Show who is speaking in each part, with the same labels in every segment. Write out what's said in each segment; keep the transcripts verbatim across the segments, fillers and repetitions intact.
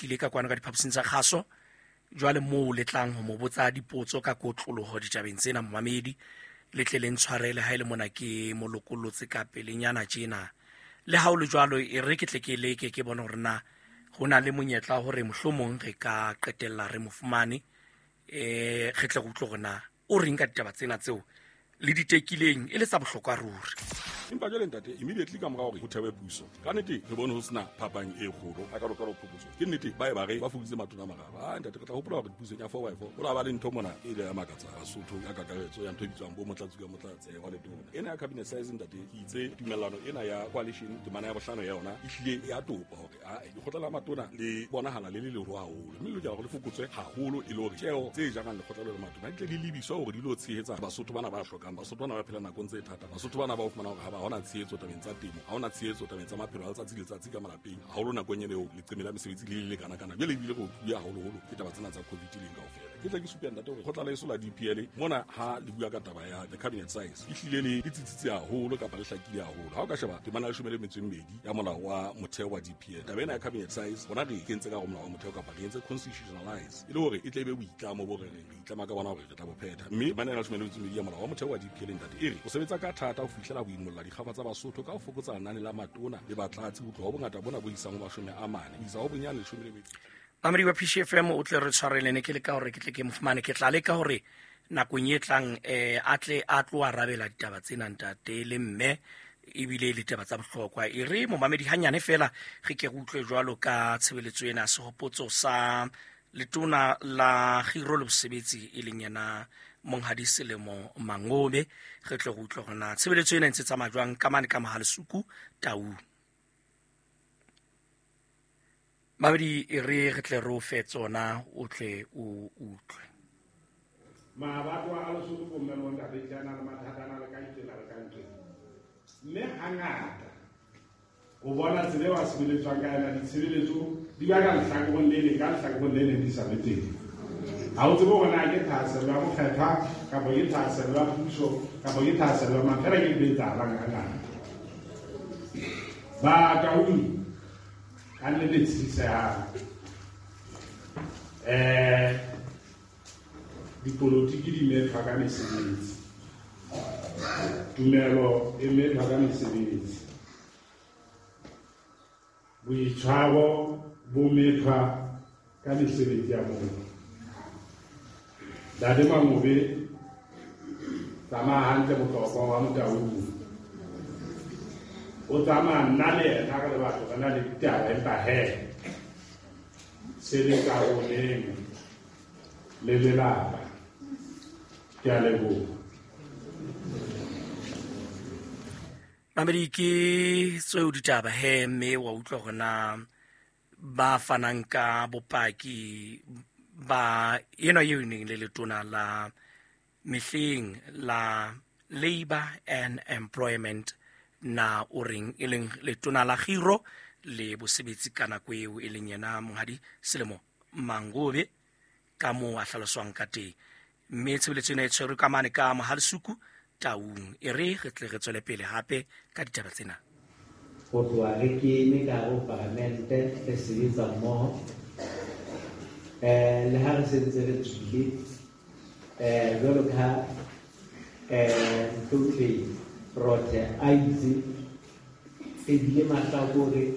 Speaker 1: tlile ka kwano ka diphaposing tsa kgaso. Jwale moo le tlang ho mo botsa dipotso ka kotloloho ditabeng tsena momamedi, le tle le ntshwarele ha e le mona ke mo lokollotse ka pelenyana tjena. Le ha o le jwalo, e re ke tle ke leke ke bone hore na ho na le monyetla hore mohlomong re ka qetella re mo fumane, eh re tle re utlwe hore na o reng ka ditaba tsena tseo le di tekileng e le tsa bohlokwa ruri.
Speaker 2: Empa jwale ntate, immediately ka mora hore ho thewe puso, ka nnete re bone ho sena phapang e kgolo a ka lokela ho phokotso. Ke nnete ba e ba re ba fokoditse matona a mararo. Ah ntate, re tla hopola hore pusong ya four by four ho la ba le ntho mona e ile ya makatsa Basotho ka kakaretso ya ntho e bitswang bo motlatsi ka motlatsi wa letona. Ena ya cabinet size ntate, ke itse tumellano ena ya coalition temana ya bohlano ya yona e hlile ya topa hore a lekgotla la matona le bonahala le le leholo haholo, mme le lokela hore le fokotswe haholo e le hore tjeo tse jarang lekgotla le matona di tle di lebiswe hore di lo tshehetsa Basotho bana ba hlokang, Basotho bana ba phela nakong tse thata, Basotho bana ba o fumana hore ha ba hona tshehetso tabeng tsa temo, ha hona tshehetso tabeng tsa maphelo a letsatsi le letsatsi ka malapeng, haholo nakong ena eo leqeme la mesebetsi le le lekana kana. Jwale ebile re otluwe haholoholo ke taba tsena tsa COVID leng kaofela. Ke tla ke supe ntate hore kgotla la eso la D P L mona ha le bua ka taba ya the cabinet size e hlile le le tsitsitse haholo kapa le hlakile haholo. Ha o ka sheba temana ya leshome le metso e mmedi ya molao wa motheo wa D P L, taba ena ya cabinet size rona re e kentse ka hare ho molao wa motheo kapa re entse constitutionalize e le hore e tle e be boitlamo bo re reng re itlama ka bona hore re tla bo phetha. Mme temana ya leshome le metso e mmedi ya molao wa motheo wa D P L ntate e re o sebetsa ka thata ho fihlela ho imolla dikgafa tsa Basotho ka ho fokotsa lenane la matona le batlatsi ho tloha ho bongata bona bo isang ho mashome a mane ho isa ho bonyane leshome le metso.
Speaker 1: Mamedi wa P C F M o tle re tshwarele, ne ke leka hore ke tle ke mo fumane, ke tla leka hore nakong e tlang eh a tle a tlo arabela ditaba tsena ntate le mme, ebile le ditaba tsa bohlokwa. E re momamedi hanyane fela re ke re utlwe jwalo ka tshebeletso ena sehopotso sa letona la Kgiro le Bosebetsi e leng yena Monghadi Selemo Mangobe, re tle re utlwe hore na tshebeletso ena e ntse tsamaya jwang ka mane ka Mohalesuku Taung. Mamedi, e re re tle re o fe tsona o tle o utlwe.
Speaker 3: Mabatwa a Lesotho bomme bo ntate tle a na le mathata a na le ka itsela le ka ntle. Mme hangata o bona tsela eo a sebeletswang ka yona, ditshebeletso di ba ka lehlakoreng le leng, ka lehlakoreng le leng di sa be teng. Ha o tsebe hore na ke thahasello ya mokgethwa kapa ke thahasello ya puso kapa ke thahasello ya mang, fela ke ntho e etsahalang hangata. Ba Taung ka nnete tshisehang. Eh, dipolotiki di methwa ka mesebetsi, tumelo e methwa ka mesebetsi, boitshwaro bo methwa ka mesebetsi ya motho. Ntate Mangobe, tsamaya hantle bohlokwa wa Motaung. O tsamaya nna le yena re le batho re na le ditaba, empa he se le karoleng le lelapa. Ke a leboha.
Speaker 1: Mamedi, ke tseo ditaba he, mme wa utlwa hore na ba fanang ka bopaki ba ena eo e neng le letona la mehleng la Labour and Employment na o reng, e leng letona la Kgiro le Bosebetsi ka nako eo e leng yena Monghadi Selemo Mangobe, ka moo a hlaloswang ka teng. Mme tshebeletso ena e tshwerwe ka mane ka Mohalesuku Taung. E re re tle re tswele pele hape ka ditaba tsena.
Speaker 4: Ho tloha re kene ka hare ho palamente re sebetsa mmoho, eh le ha re sentse re tswile, eh jwalo ka ha, eh Ntombi Rothe a itse re bile mahlakore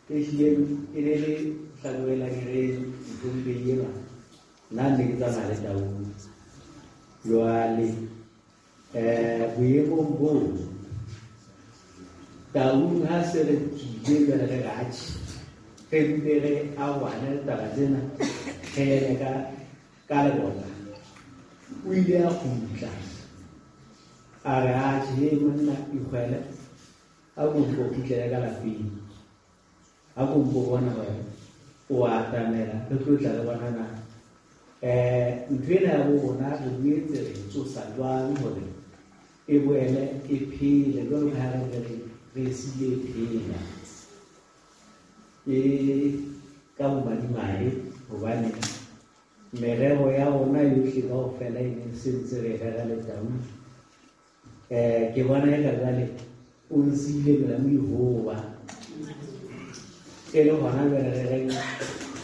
Speaker 4: e hlileng e le le hlakore la direng Ntombi enwa, nna ne ke tsamaya le Taung. Jwale eh boemong boo Taung ha se re tswile jwale re re atjhe, re mpe re arohane le taba tsena, re eme ka, ka lebota. O ile a kgutla a re atjhe, hei monna ikgwele, a ko mpo kgutlele ka lapeng, a ko mpo bona hore o atamela, re tlo tla re bona na. Eh, ntho ena ya bo rona re boetse re tsosa jwang hore e boele e phele jwalo ka ha re ntse re, re siile e phela. E ka bomadimabe hobane merero ya rona yohle kaofela e neng se ntse re rera le Taung. Eh, ke bona eka jwale o nsiile melamu e hoba. E le hona jwale re reng